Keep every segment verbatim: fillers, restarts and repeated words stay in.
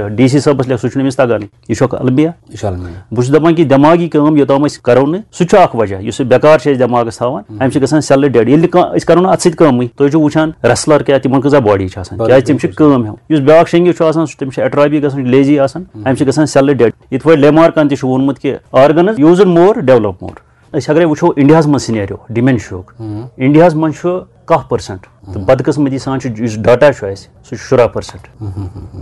D C صٲبس لیکھ، سُہ چھُنہٕ أمِس تگان، یہِ چھُ اکھ المیہ۔ یہِ چھُ المیہ۔ بہٕ چھُس دپان کہِ دٮ۪ماغی کٲم یوٚتام أسۍ کرو نہٕ، سُہ تہِ چھُ اکھ وجہ، یُس یہِ بیکار چھِ أسۍ دٮ۪ماغس تھاوان، امہِ سۭتۍ گژھان سیلہٕ ڈیڈ۔ ییٚلہِ نہٕ کانٛہہ، أسۍ کرو نہٕ اتھ سۭتۍ کٲمٕے، تُہۍ چھِو وٕچھان ریسلر کیٛاہ، تِمن کۭژاہ باڈی چھِ آسان، کیٛازِ تِم چھِ کٲم ہٮ۪وان۔ یُس بیٛاکھ شینگی چھُ آسان، سُہ، تٔمِس چھِ ایٹرافی گژھان، لیزی آسان، امہِ سۭتۍ گژھان سیلہٕ ڈیڈ۔ یِتھ پٲٹھۍ لیمارکن تہِ چھُ ووٚنمُت کہِ organs use more, develop more۔ أسۍ اگرے وٕچھو انڈیاہس منٛز سینیریو ڈیمینشیاہُک، انڈیاہس منٛز چھُ کاہ پٔرسنٹ، تہٕ بدقسمتی سان چھُ، یُس ڈاٹا چھُ اَسہِ، سُہ چھُ شُراہ پٔرسنٹ۔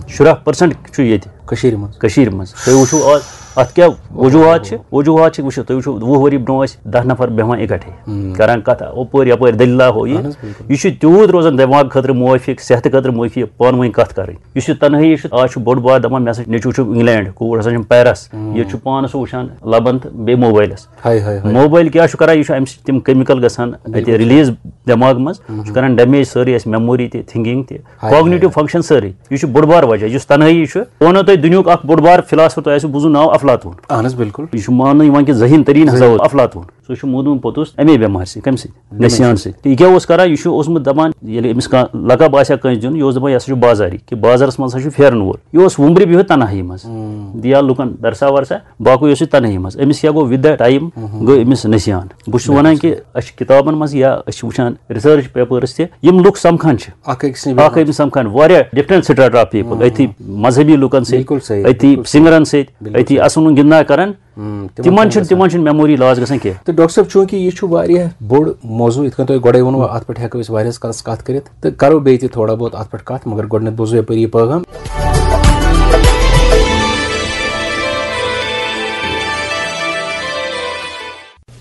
شُراہ پٔرسنٹ چھُ ییٚتہِ۔ کٔشیٖرِ منٛز۔ کٔشیٖرِ منٛز۔ تُہۍ وٕچھِو آز اتھ کیٛاہ وجوہات چھِ، وجوہات چھِ، وٕچھِو، تُہۍ وٕچھِو، وُہ ؤری برونٛہہ ٲسۍ دَہ نفر بیٚہوان اِکٹھے، کران کتھ، اپٲرۍ یپٲرۍ دٔلیٖلہ ہو یہِ۔ اہن حظ، بِلکُل۔ یہِ چھُ تیوٗت روزان دٮ۪ماغ خٲطرٕ موافق، صحتہٕ خٲطرٕ موافق، پانہٕ ؤنۍ کتھ کرٕنۍ۔ یُس یہِ تنہٲیی چھُ، آز چھُ بوٚڑ بار دپان، مےٚ ہسا چھُ نیٚچوٗ چھُ انگلینڈ، کوٗر ہسا چھم پیرس، ییٚتہِ چھُ پانس سُہ وٕچھان لبن تہٕ بیٚیہِ موبایلس۔ ہاے ہاے ہاے۔ موبایل کیٛاہ چھُ کران؟ یہِ چھُ امہِ سۭتۍ تِم کیمکل گژھان اتہِ ریلیز دٮ۪ماغ منٛز، چھُ کران ڈیمیج سٲرٕے اَسہِ میموری تہِ، تھنکنگ تہِ، ہاے کاگنیٹو ہاے۔ فنکشن سٲرٕے۔ یہِ چھُ بوٚڑ بار وجہ، یُس تنہٲیی چھُ۔ بہٕ ونو تۄہہِ دُنیُک اکھ بوٚڑ بار فلاسفر، تۄہہِ آسِوٕ بوٗزمُت ناو افلاطون۔ اہن حظ، بِلکُل۔ یہِ چھُ ماننہٕ یِوان کہِ ذہین تریٖن ہسا اوس افلاطون۔ سُہ چھُ موٗدمُت پوٚتُس امے بٮ۪مارِ سۭتۍ۔ کمہِ سۭتۍ؟ نسیان سۭتۍ۔ تہٕ یہِ کیٛاہ اوس کران؟ یہِ چھُ اوسمُت دپان، ییٚلہِ أمِس کانٛہہ لقب آسہِ ہا کٲنٛسہِ دیُن، یہِ اوس دپان، یہِ ہسا چھُ بازاری، کہِ بازرس منٛز ہسا چھُ پھیرن وول۔ یہِ اوس وُمبرِ بِہِتھ تنہٲیی منٛز، دِیا لُکن درسا ورسا، باقٕے اوس یہِ تنہٲیی منٛز۔ أمِس کیٛاہ گوٚو، with the time گوٚو أمِس نسیان۔ بہٕ چھُس ونان کہِ أسۍ چھِ کِتابن منٛز یا أسۍ چھِ وٕچھان ریسرچ پیپٲرس تہِ، یِم لُکھ سمکھان چھِ، اکھ أکِس نِش اکھ أکِس سمکھان، واریاہ different strata of people، أتھی مذہبی لُکن سۭتۍ، بِلکُل صحیح، أتھی بِلکُل صحیح۔ سنگرن سۭتۍ، بِلکُل أتھی صحیح۔ اصلن گِنٛدنا کران، ہم، تِمن تِمن کیٛاہ چھُنہٕ گژھان؟ تِمن چھُنہٕ میموری لاس گژھان کینٛہہ۔ تہٕ ڈاکٹر صٲب، چوٗنٛکہِ یہِ چھُ واریاہ بوٚڑ موضوع، یِتھ کٔنۍ تۄہہِ گۄڈَے ووٚنوُ، اَتھ پٮ۪ٹھ ہٮ۪کو أسۍ واریاہَس کالَس کَتھ کٔرِتھ، تہٕ کَرو بیٚیہِ تہِ تھوڑا بہت اَتھ پٮ۪ٹھ کَتھ، مگر گۄڈٕنٮ۪تھ بوزو یَپٲرۍ یہِ پٲغام۔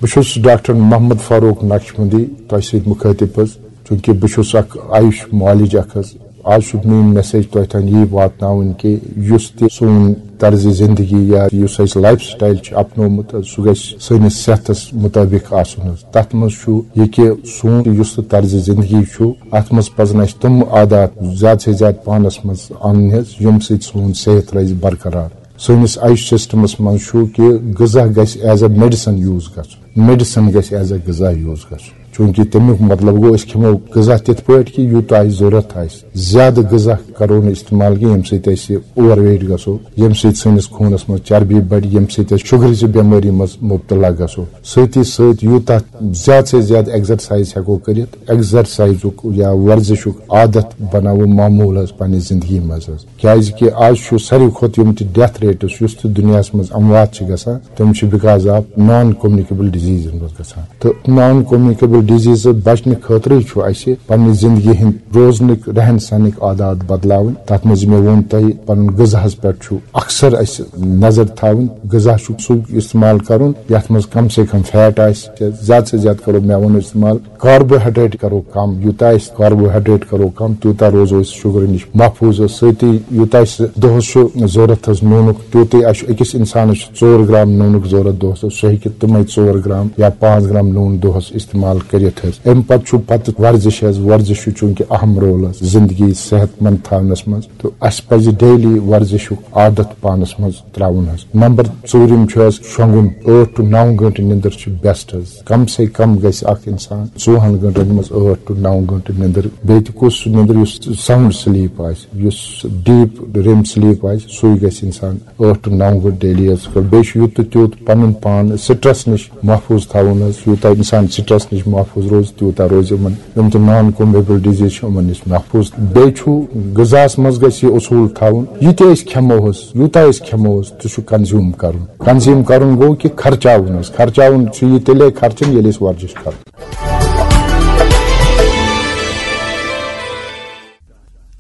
بہٕ چھُس ڈاکٹر محمد فاروق نقشبندی تۄہہِ سۭتۍ مُخٲطِب حظ، چوٗنٛکہِ بہٕ چھُس اَکھ آیُش معالج اَکھ حظ۔ آز چھُ میٛٲنۍ میسیج تۄہہِ تام یی واتناوٕنۍ کہِ یُس تہِ سون طرزِ زندگی یا یُس اَسہِ لایف سٹایل چھُ اپنومُت، سُہ گژھِ سٲنِس صحتس مُطٲبِق آسُن حظ۔ تَتھ منٛز چھُ یہِ کہِ سون یُس تہِ طرزِ زندگی چھُ، اَتھ منٛز پَزَن اَسہِ تِم عادات زیادٕ سے زیادٕ پانَس منٛز اَنٕنۍ حظ، ییٚمہِ سۭتۍ سون صحت روزِ برقرار۔ سٲنِس آیُش سسٹمس منٛز چھُ کہِ غذا گژھِ as a medicine use گژھُن، میڈیسن گژھِ as a غذا use گژھُن۔ چوٗنٛکہِ تَمیُک مطلب گوٚو، أسۍ کھٮ۪مو غذا تِتھ پٲٹھۍ کہِ یوٗتاہ اَسہِ ضوٚرتھ آسہِ۔ زیادٕ غذا کرو نہٕ استعمال کینٛہہ، ییٚمہِ سۭتۍ اَسہِ اوور ویٹ گژھو، ییٚمہِ سۭتۍ سٲنِس خوٗنَس منٛز چربی بڑِ، ییٚمہِ سۭتۍ أسۍ شُگرٕچہِ بٮ۪مٲری منٛز مُبتلا گژھو۔ سۭتی سۭتۍ یوٗتاہ زیادٕ سے زیادٕ ایگزرسایز ہٮ۪کو کٔرِتھ، ایگزرسایزُک یا ورزشُک عادت بناوو معموٗل حظ پننہِ زندگی منٛز حظ۔ کیازِ کہِ آز چھُ ساروی کھۄتہٕ یِم تہِ ڈیتھ ریٹس یُس تہِ دُنیاہَس منٛز اموات چھِ گژھان، تِم چھِ because of non communicable diseases منٛز گژھان۔ تہٕ نان کومنیکیبل ڈیزیز بچنہٕ خٲطرٕ چھُ اَسہِ پننہِ زندگی ہٕنٛدۍ روزنٕکۍ رہن سہنٕکۍ عادات بدلاوٕنۍ۔ تَتھ منٛز مےٚ ووٚن تۄہہِ، پنُن غذاہَس پٮ۪ٹھ چھُ اکثر اَسہِ نظر تھاوٕنۍ۔ غذا چھُ سُہ استعمال کرُن یَتھ منٛز کم سے کم فیٹ آسہِ، زیادٕ سے زیادٕ کرو مٮ۪وَن استعمال۔ کاربوہائیڈریٹ کرو کم، یوٗتاہ أسۍ کاربوہائیڈریٹ کرو کم، تیوٗتاہ روزو أسۍ شُگرٕ نِش محفوٗظ۔ سۭتی یوٗتاہ اَسہِ دۄہس چھُ ضروٗرت حظ نوٗنُک، تیوٗتٕے اَسہِ چھُ أکِس اِنسانَس چھُ ژور گرام نوٗنُک ضروٗرت دۄہس، سُہ ہیٚکہِ تِمے ژور گرام یا پانٛژھ گرام نوٗن دۄہس استعمال کٔرِتھ حظ۔ اَمہِ پتہٕ چھُ پتہٕ ورزش حظ، ورزش چھُ چوٗنٛکہِ اہم رول حظ زندگی صحت مند تھاونس منٛز، تہٕ اَسہِ پزِ ڈیلی ورزشُک عادت پانس منٛز تراوُن حظ۔ نمبر ژوٗرِم چھُ حظ شۄنٛگُن، ٲٹھ to نو گٲنٛٹہٕ نِندٕر چھِ بیسٹ حظ۔ کم سے کم گژھِ اکھ انسان ژوٚوُہن گٲنٛٹن منٛز ٲٹھ to نو گٲنٛٹہٕ نِندٕر۔ بیٚیہِ تہِ کُس سُہ نِندٕر یُس ساؤنڈ سلیپ آسہِ، یُس ڈیپ ریم سلیپ آسہِ، سُے گژھِ انسان ٲٹھ to نو گٲنٛٹہٕ ڈیلی حظ کرُن۔ بیٚیہِ چھُ یوٗت تہٕ تیوٗت پنُن پان سٹرس نِش محفوٗظ تھاوُن حظ۔ یوٗتاہ انسان سٹرس نِش محفوٗظ روزِ، تیوٗتاہ روزِ یِمن یِم تہِ نان کومبیبل ڈیزیز چھِ، یِمن نِش محفوٗظ۔ بیٚیہِ چھُ غذاہَس منٛز گژھِ یہِ اصوٗل تھاوُن، یہِ تہِ أسۍ کھٮ۪مو حظ، یوٗتاہ أسۍ کھٮ۪مو حظ، تہِ چھُ کنزیوٗم کرُن۔ کنزیوٗم کرُن گوٚو کہِ خرچاوُن حظ، خرچاوُن چھُ یہِ تیٚلے خرچُن، ییٚلہِ أسۍ ورزش کرو۔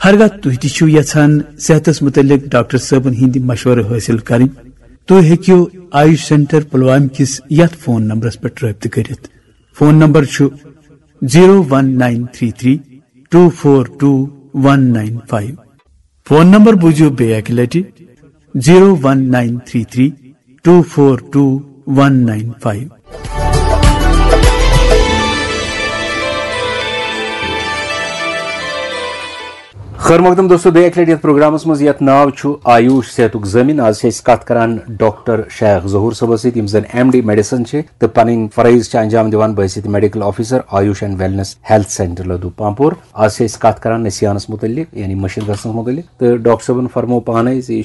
ہرگاہ تُہۍ تہِ چھِو یژھان صحتس متعلق ڈاکٹر صٲبن ہٕنٛدۍ مشورٕ حٲصِل کرٕنۍ، تُہۍ ہیٚکِو آیوش سینٹر پلوامہِ کِس یتھ فون نمبرس پٮ۪ٹھ رٲبطہٕ کٔرِتھ۔ فون نمبر چھُ zero one nine three three two four two one nine five۔ Phone number بوٗزِو بیٚیہِ اکہِ لٹہِ، zero one nine three three two four two one nine five۔ خٲر مقدم دوستو، بیٚیہِ اکہِ لٹہِ یتھ پروگرامس منٛز یتھ ناو چھُ آیوش صحتُک ضٲمِن۔ آز چھِ أسۍ کتھ کران ڈاکٹر شیخ ظہور صٲبس سۭتۍ، یِم زن ایم ڈی میڈیسن چھِ تہٕ پنٕنۍ فرٲیض چھِ انجام دِوان بحیثیت medical officer AYUSH and wellness health centre Ladhoo Pampore. آز چھِ أسۍ کتھ کران نسیانس متعلق، یعنی مٔشِتھ گژھنس متعلق۔ تہٕ ڈاکٹر صٲبن فرموو پانے زِ یہِ